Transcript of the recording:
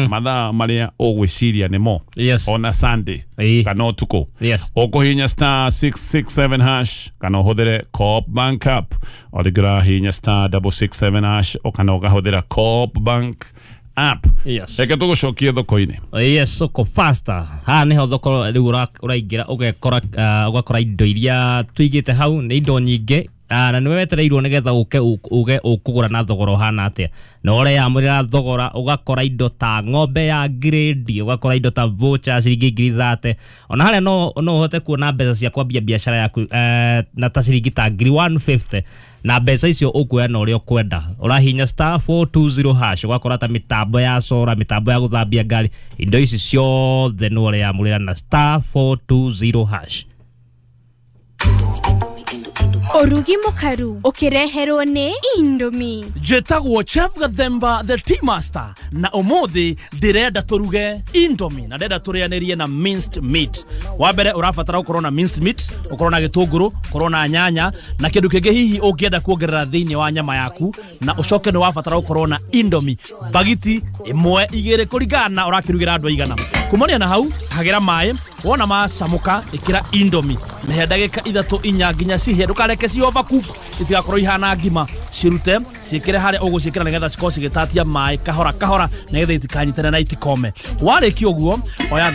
Mathaa marĩa ũgwĩciria nĩmo ona Sunday kana ũtukũ, ũkũhihinya *667# kana ũhũthĩre Co-op Bank app. O rĩngĩ ũrahihinya *667# kana ũkahũthĩra Co-op Bank app. Reke tũgũcokie thoko-inĩ. Yes, soko faster. Haha niho thoko rĩu ũraingĩra ũgekora, ũgakora indo iria tũigĩte hau nĩ indo nyingĩ. Na nĩwe wetereirwo nĩgetha ũke uge ũkũgũra na thogora ũhana atĩa, na ũreyamũrĩra thogora. Ũgakora indo ta ng'ombe ya grade, ũgakora indo ta voucher ciringi 30,000. Ona harĩa no ũhote kuona mbeca cia kwambia biacara yaku na ta ciringi ta 150,000, na mbeca icio ũkuoya na ũrĩa ũkwenda. Ũrahinya *420#, ũgakora ta mĩtambo ya solar, mĩtambo ya gũthambia ngari, indo ici ciothe nĩ ũreyamũrĩra na *420#. Ũrugi mũkaru ũkĩreherwo nĩ Indomie. Njĩtagwo Chef Gathemba the Tea Master, na ũmũthĩ ndĩrenda tũruge Indomie na ndĩrenda tũrĩanĩrie na minced meat. Wa mbere ũrabatara gũkorwo na minced meat, ũkorwo na gĩtũngũrũ, ũkorwo na nyanya na kĩndũ kĩngĩ hihi ũngĩenda kuongerera thĩinĩ wa nyama yaku, na ũcoke nĩ wabatara gũkorwo na Indomie bagiti ĩmwe, igĩrĩ, kũringana na ũrakĩrugĩra andũ aigana. Kumania na hau, hagĩra maĩ, wona macamũka ĩkĩra Indomie, mĩhe ndagĩka 3, 4 nginya cihĩe. Ndũkareke ci overcook, itigakorwo ihana ngima. Cirute, ciĩkĩre harĩa ũgũciĩkĩra nĩgetha cikorwo cigĩtatia maĩ kahora kahora, nĩgetha itikanyitane na itikome. Warĩkia ũguo, oya.